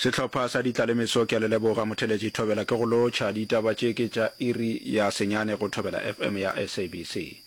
Sehlopha sa Ditlalemeso ke a le leboga motheletši Thobela ke go lotšha. Ditaba tše ke tša iri ya senyane go Thobela FM ya SABC.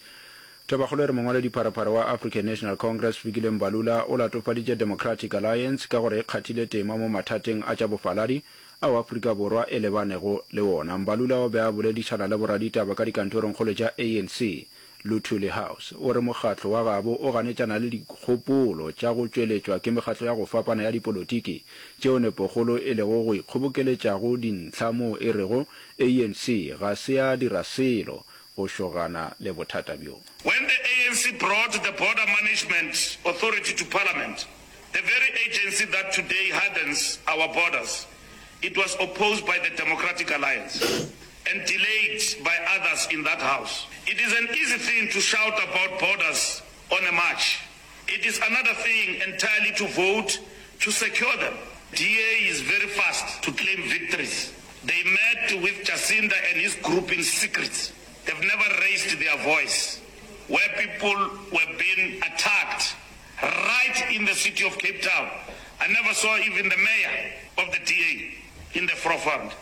Tabakgolo e re mongwaledipharephare wa African National Congress Fikile Mbalula o latofaditše Democratic Alliance ka gore e kgathile tema mo mathateng a tša bofaladi ao Afrika Borwa e lebanego le wona. Mbalula o be a boledišana le boraditaba ka dikantorongkgolo tša ANC Luthuli House o re mokgatlo wa gabo o ganetšana le dikgopolo tša go tšweletšwa ke mekgatlo ya go fapana ya dipolotiki tšeo nepokgolo e lego go ikgobokeletšago dintlha moo e rego ANC ga se ya dira selo go šogana le bothata bjo. When the ANC brought the Border Management Authority to Parliament, the very agency that today hardens our borders, it was opposed by the Democratic Alliance and delayed by others in that house. It is an easy thing to shout about borders on a march. It is another thing entirely to vote to secure them. DA is very fast to claim victories. They met with Jacinda and his group in secret. They've never raised their voice where people were being attacked right in the city of Cape Town. I never saw even the mayor of the DA in the forefront.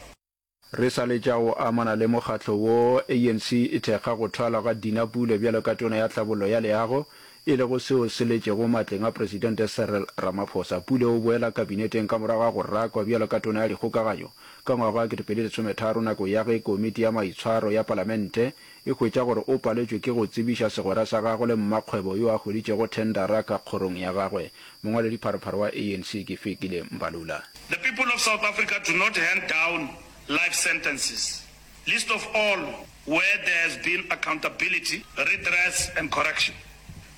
Re sa letša go amana le mokgatlo wo, ANC e thekga go thwalwa ga Dina Pule bjalo ka Tona ya Tlhabollo ya Leago, e lego seo se letšego matleng a Presidente Cyril Ramaphosa. Pule o boela kabineteng ka morago ga go rakwa bjalo ka Tona ya Dikgokaganyo ka ngwaga wa 2013 nako ya ge Komiti ya Maitshwaro ya Palamente e hwetša gore o paletšwe ke go tsebiša segwera sa gagwe le mmakgwebo yo a hweditšego thendara ka kgorong ya gagwe. Mongwaledipharephare wa ANC ke Fikile Mbalula. The people of South Africa do not hand down life sentences, least of all where there has been accountability, redress and correction.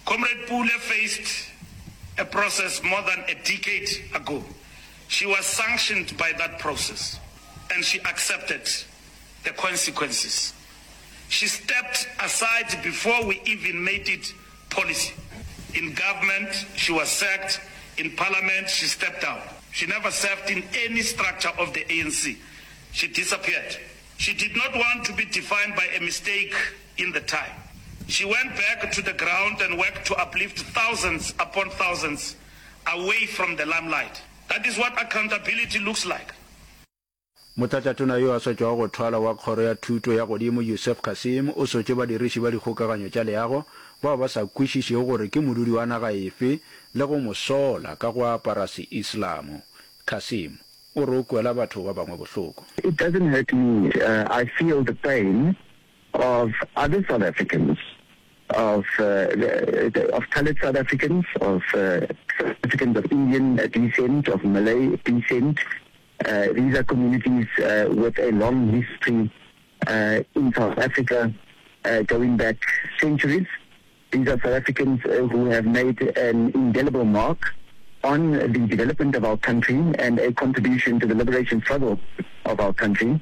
Comrade Pule faced a process more than a decade ago. She was sanctioned by that process and she accepted the consequences. She stepped aside before we even made it policy. In government, she was sacked. In parliament, she stepped down. She never served in any structure of the ANC. She disappeared. She did not want to be defined by a mistake in the time. She went back to the ground and worked to uplift thousands upon thousands away from the limelight. That is what accountability looks like. Motlatšatona yo a sa tšwago go thwalwa wa Kgoro ya Thuto ya Godimo Yusuf Cassim o sotše badiriši ba dikgokaganyo tša leago bao ba sa kwešišego gore ke modudi wa naga efe le go mo sola ka go apara Seislamo. Cassim o re o kwela batho ba bangwe bohloko. It doesn't hurt me, I feel the pain of other South Africans, of of coloured South Africans, of South Africans of Indian descent, of Malay descent, These are communities with a long history in South Africa going back centuries. These are South Africans who have made an indelible mark on the development of our country and a contribution to the liberation struggle of our country.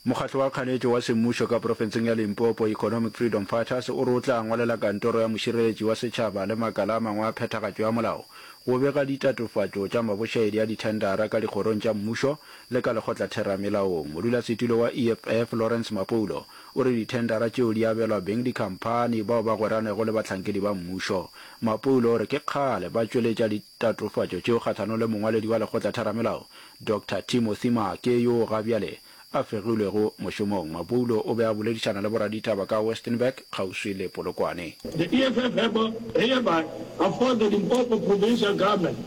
Mokgatlo wa kganetšo wa semmušo ka profenseng ya Limpopo, Economic Freedom Fighters, o re o tla ngwalela kantoro ya mošireletši wa setšhaba le makala a mangwe a phethagatšo ya molao go bega ditatofatšo tša mabošaedi a dithendara ka dikgorong tša mmušo le ka lekgotlatheramelaong. Modulasetulo wa EFF, Lawrence Mapoulo, o re dithendara tšeo di abelwa beng dikhamphani bao ba gweranego le bahlankedi ba mmušo. Mapoulo o re ke kgale ba tšweletša ditatofatšo tšeo kgahlanong le mongwaledi wa lekgotlatheramelao, Doctor Timothy Maake yoo gabjale a fegilwego mošomong. Mapoulo o be a boledišana le boraditaba ka Westenburg kgauswi le Polokwane. The EFF hereby affords the Limpopo Provincial Government,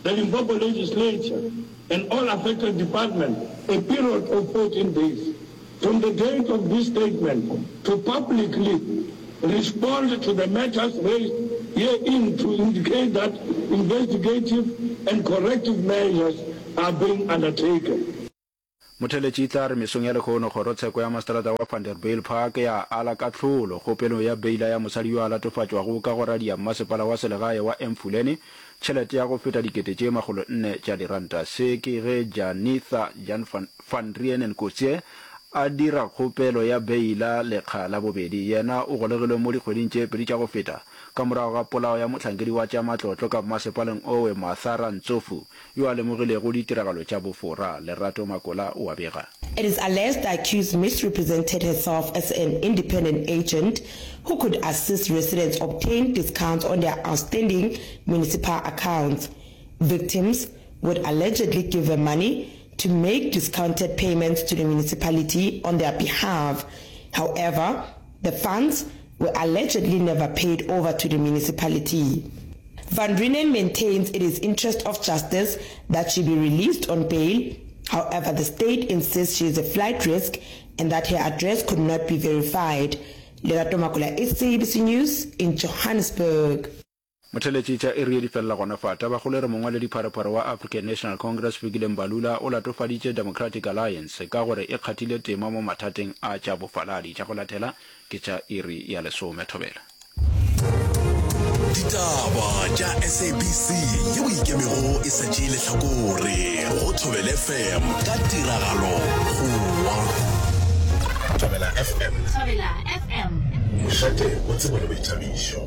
the Limpopo Legislature and all affected departments a period of 14 days from the date of this statement to publicly respond to the matters raised herein to indicate that investigative and corrective measures are being undertaken. Motheletši e tla re mesong ya lehono kgorotsheko ya maseterata wa Vanderbijlpark ya ala kahlolo kgopelong ya beila ya mosadi yo a latofatšwago ka go radia mmasepala wa selegae wa Emfuleni tšhelete ya go feta dikete tše makgolonne tša diranta. Se ke ge Janitha Jan van Reenen Coetzee a dira kgopelo ya beila lekga la bobedi. Yena o golegilwe mo dikgweding tše pedi tša go feta ka morago ga polao ya mohlankedi wa tša matlotlo ka mmasepaleng owe Martha Rantsofu yo a lemogilego ditiragalo tša bofora. Lerato Makola o a bega. It is alleged the accused misrepresented herself as an independent agent who could assist residents obtain discounts on their outstanding municipal accounts. Victims. would allegedly give her money to make discounted payments to the municipality on their behalf. However, the funds were allegedly never paid over to the municipality. Van Reenen maintains it is interest of justice that she be released on bail. However, the state insists she is a flight risk and that her address could not be verified. Lerato Makola, SABC News in Johannesburg. Motheletši tša iri ye di felela gona fa. Tabakgolo e re mongwaledipharephare wa African National Congress Fikile Mbalula o latofaditše Democratic Alliance ka gore e kgathile tema mo mathateng a tša bofaladi. Tša go latela ke tša iri ya lesome. Thobela. Ditaba tša SABC yeo e ikemego e sa tšee lehlakore go Thobela FM ka tiragalo Goa. Thobela FM. Thobela FM. Mošate wa tsebo le boithabišo.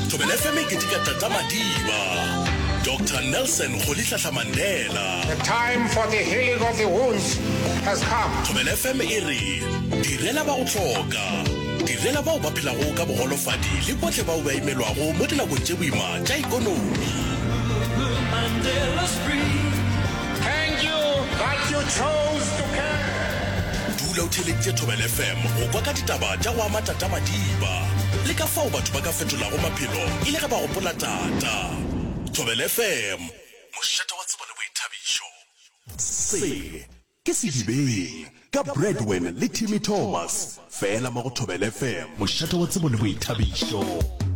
Thobela FM e keteka Tata Madiba, Doctor Nelson Rolihlahla Mandela. The time for the healing of the wounds has come. Thobela FM e re direla ba go hloka, direla bao ba phelago ka bogolofadi le bohle bao ba imelwago mo dinakong tše boima tša ikonomi. Thank you that you chose to care. Dula o theeleditše Thobela FM go kwa ka ditaba tša go ama Tata Madiba le ka fao batho ba ka fetolago maphelo e le ge ba gopola Tata. Thobela FM, mošate wa tsebo le boithabišo. Se ke Sedibeng ka Bradwin le Timmy Thomas, fela mo go Thobela FM, mošate wa tsebo le boithabišo.